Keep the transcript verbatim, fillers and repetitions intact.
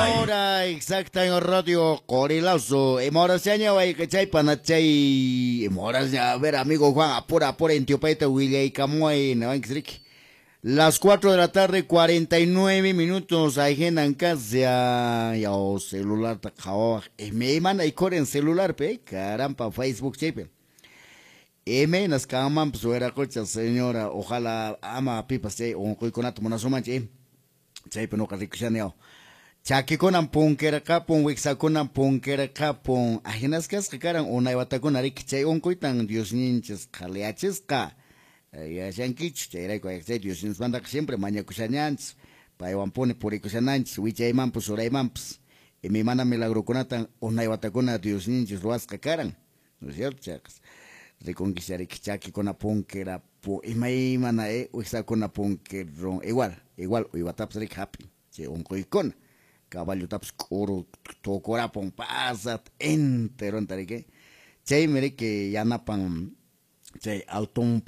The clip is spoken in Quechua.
Hora exacta en Radio Qorilazo. Imahorasña wayqichay panachay. Imahorasña, a ver, amigo Juan, apura, apura, intiupaita willaykamuay, niwanchis riki. Las cuatro de la tarde, cuarenta y nueve minutos, ahinan kashan, yaw celularta qhawawaq. Imaymana ikhurin celularpi, carampa, Facebook chaypi. Imaynas kanmanpas, wiraqocha, señora, ojalá ama pipas chay unquykunata munasunmanchu. Chaypi nuqa rikushani, yaw. Chakikunan punkirqapun, wiksakunan punkirqapun. Ahinas kasqa karan unay watakuna riki, chay unquytan Diosninchis qhaliyachisqa. Yachankichu, chayrayku chay Diosninchismantaqa siempre mañakushananchis, paywanpuni purikushananchis, wichaymanpas uraymanpas. Imaymana milagrokunatan unay watakuna Diosninchis ruwasqa karan. ¿No es cierto? Chayqa rikunkichis riki, chakikuna punkirapu, imaymana, eh, wiksakuna punkirun, igual, igual uywatapas riki hap'in chay unquykuna. Caballotapas k'uru tukurapun pasat enteronta riki. Chaymi riki yanapan chay alton.